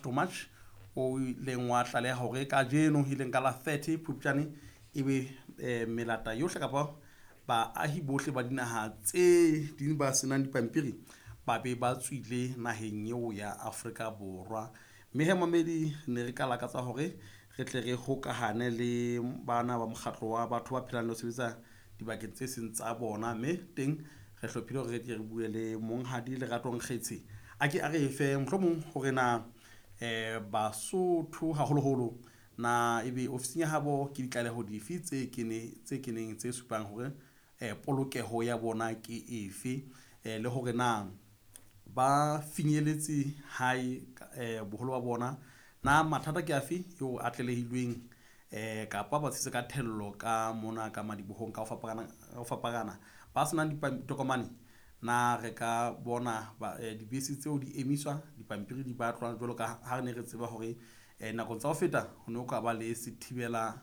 To March o ileng wa tlaleha hore kajeno e leng ka la 30 Phupjane ebe melata yohle kapa baahi bohle ba dinaha tse ding ba senang dipampiri ba be ba tswile naheng eo ya Afrika Borwa. Mme he mamedi ne re ka lakatsa hore re tle re hokahane le bana ba mokgatlo wa batho ba phelang le ho sebetsa dibakeng tse seng tsa bona, mme teng re hlophile hore re tle re bue le Monghadi Lerato Nkgetshe a ke a re fe mohlomong hore na Basotho haholoholo na ebe ofising ya habo ke ditlaleho dife tse keneng tse supang hore polokeho ya bona ke efe, le hore na ba finyeletse hae boholo ba bona, na mathata ke afe eo a tlalehilweng kapa ba tshetse ka thello ka mona ka madibohong ka ho fapana ba senang ditokomane. Na re ka bona dibese tseo di emiswa, dipampiri di batlwa jwalo ka ha re ne re tseba hore nakong tsa ho feta ho ne ho ka ba le sethibela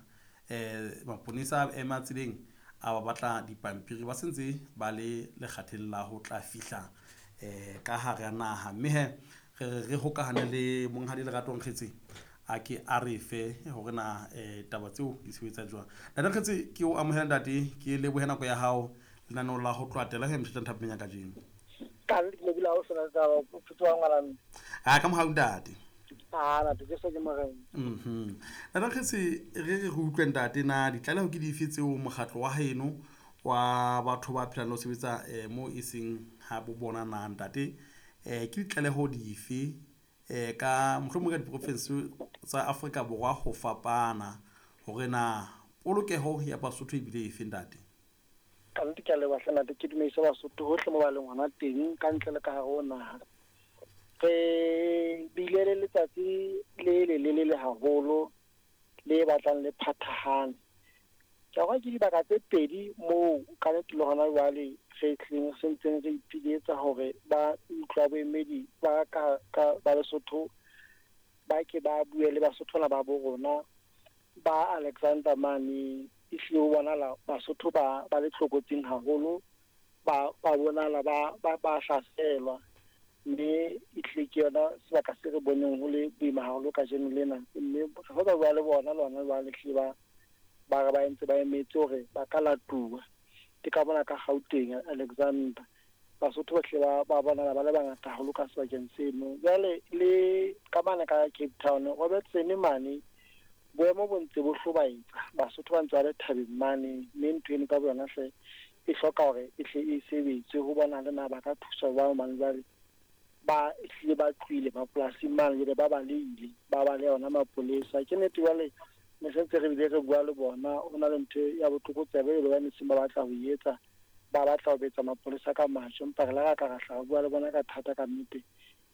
maponesa a ema tseleng a ba batla dipampiri ba sentse ba le lekgatheng la ho tla fihla ka hara naha. Mme he re re hokahane le Monghadi Lerato Nkgetshe a ke a re fe hore na taba tseo di sebetsa jwang. Ntate Nkgetshe, ke o amohela ntate, ke lebohe nako ya hao lenaneo la ho tloatela he motjha thapeng ya kajeno. Ka nnete ke lebile ha o sena taba, o phetse wa ngwana mme. A ka mohau ntate. A ntate Jesu ke morena. Ntate Nkgetshe, re re utlwe ntate, na ditlaleho ke dife tseo mokgatlo wa heno wa batho ba phelang le ho sebetsa mo e seng ha bo bona na ntate, ke ditlaleho dife ka mohlomong ka diprovince tsa Afrika Borwa ho fapana hore na polokeho ya Basotho ebile efe ntate? Ka nnete ke a leboha hle ntate, ke dumedise Basotho hohle mo ba leng hona teng ka ntle le ka hare ho naha. Re bile le letsatsi le lelelele haholo le batlang le phathahane. Ke a ke dibaka tse pedi moo ka nnete le hona jwale re tlileng re sentseng re ipiletsa hore ba ntlo ya boemedi ba ka ba Lesotho ba ke ba bue le Basotho bana ba bo rona ba Alexander mane. Ehlile ho bonahala Basotho ba le tlokotsing haholo, ba bonahala ba hlaselwa, mme ehlile ke yona sebaka se re boneng ho le boima haholo kajeno lena. Mme re sa tla bua le bona le hona jwale, ehlile ba re ba entse ba emetse hore ba ka latuwa. Ke ka mona ka Gauteng Alexander, Basotho ba hlile ba bonahala ba le bangata haholo ka sebakeng seno. Jwale le ka mane ka Cape Town, Robertson mane, boemo bo ntse bo hlobaetsa, Basotho ba ntse ba le thabeng mane, mme ntho eno ka boyona hle e hloka hore e hle e sebetswe ho bona le na ba ka thuswa jwang, hobane jwale ba hlile ba tlohile mapolasing mane, jwale ba balehile, ba baleha ona mapolesa. Ke nnete jwale ne se ntse re bile re bua le bona, ho na le ntho ya botlokotsebe jwale ba ne seng ba batla ho e etsa, ba batla ho betsa mapolesa ka majwe, empa re la ra ka ra hla re bua le bona ka thata ka nnete,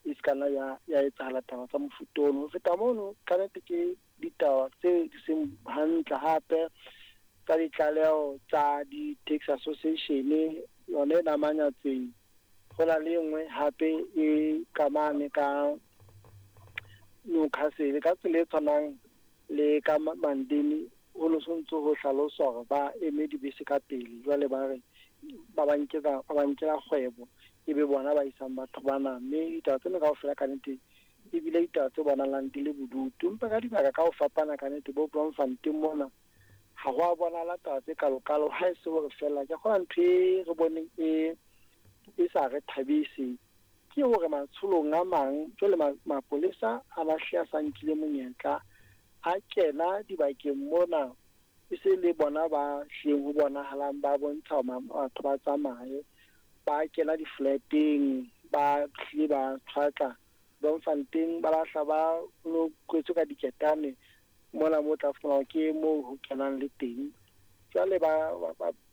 e se ka nna ya etsahala taba tsa mofuta ono. Ho feta mono, ka nnete ke ditaba tse di seng hantle hape tsa ditlaleho tsa di-taxi association yona e namanyatseng. Ho na le e nngwe hape e ka mane ka Newcastle ka tsela e tshwanang le ka Mandeni, ho no sontso ho hlaloswa hore ba eme dibese ka pele, jwale ba re ba ba nkela kgwebo, ebe bona ba isang batho bana. Mme ditaba tsena kaofela ka nnete ebile ditaba tse bonahalang di le bodutu, empa ka dibaka ka ho fapana ka nnete bo Bloemfontein mona ha ho a bonahala taba tse kalokalo, ha e se hore fela ke kgona ntho e re boneng e sa re thabise ke hore matsholong a mang jwale mapolesa a lahle a sa nkile monyetla a kena dibakeng mona, e se le bona ba hlileng ho bonahalang ba bontsha batho ba tsamaye, ba kena di-flat-eng, ba hlile ba tshwatla Bloemfontein, ba lahla ba no kwetswe ka diketane mona mo tla fumana ke moo ho kenang le teng. Jwale ba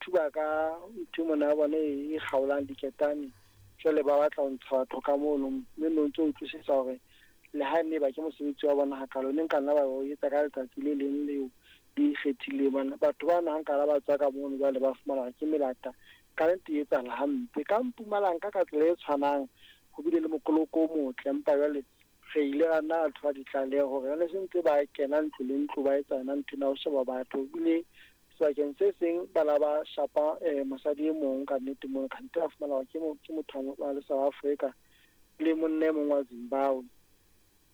thuba ka ntho mona ya bona e kgaolang diketane, jwale ba batla ho ntsha batho ka mono, mme no ntso utlwisisa hore le ha ne ba ke mosebetsi wa bona hakalo, ne nka nna ba o etsa ka letsatsi le leng leo le ikgethileng. Batho ba na nka la ba tswa ka mono, jwale ba fumana hore ke melata, ka nnete e etsahala hampe. Ka Mpumalanga ka tsela e tshwanang ho bile le mokoloko o motle, empa jwale re ile ra nna ra thola ditlaleho hore jwale se ntse ba kena ntlo le ntlo ba etsa yona ntho ena ho sheba batho. Ebile sebakeng se seng ba la ba shapa mosadi e mong ka nnete mono, kgante ba fumana hore ke motho wa le South Africa le monna e mong wa Zimbabwe.